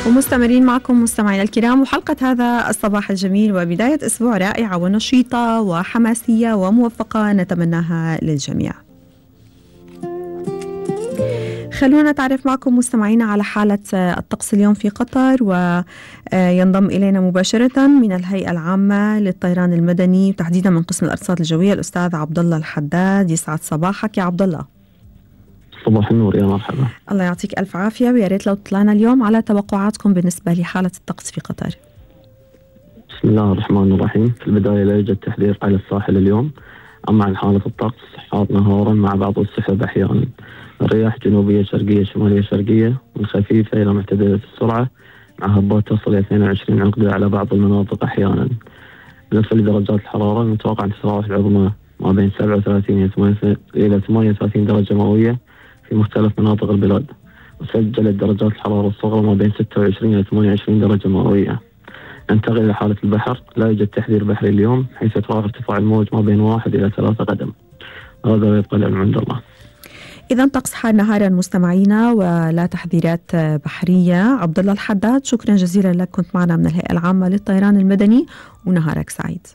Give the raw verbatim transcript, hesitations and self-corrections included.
ومستمرين معكم مستمعينا الكرام، وحلقة هذا الصباح الجميل وبداية أسبوع رائعة ونشيطة وحماسية وموفقة نتمناها للجميع. خلونا نتعرف معكم مستمعينا على حالة الطقس اليوم في قطر، وينضم إلينا مباشرة من الهيئة العامة للطيران المدني وتحديدا من قسم الأرصاد الجوية الأستاذ عبد الله الحداد. يسعد صباحك يا عبد الله. صباح النور، يا مرحبا. الله يعطيك ألف عافية، ويا ريت لو طلعنا اليوم على توقعاتكم بالنسبة لحالة الطقس في قطر. بسم الله الرحمن الرحيم. في البداية لا يوجد تحذير على الساحل اليوم. أما عن حالة الطقس، حار نهارا مع بعض السحب أحيانا. الرياح جنوبية شرقية شمالية شرقية من خفيفة إلى معتدلة السرعة، مع هبات تصل إلى اثنين وعشرين عقدة على بعض المناطق أحيانا. بالنسبة لدرجات الحرارة، المتوقع أن تتراوح العظمى ما بين سبعة وثلاثين إلى ثمانية وثلاثين درجة مئوية في مختلف مناطق البلاد، وسجلت درجات الحرارة الصغرى ما بين ستة وعشرين إلى ثمانية وعشرين درجة مئوية. ننتقل إلى حالة البحر. لا يوجد تحذير بحري اليوم، حيث يتراوح ارتفاع الموج ما بين واحد إلى ثلاثة قدم. هذا ويبقى العلم عند الله. إذا طقس حار نهارا مستمعينا ولا تحذيرات بحرية. عبد الله الحداد، شكرا جزيلا لك، كنت معنا من الهيئة العامة للطيران المدني، ونهارك سعيد.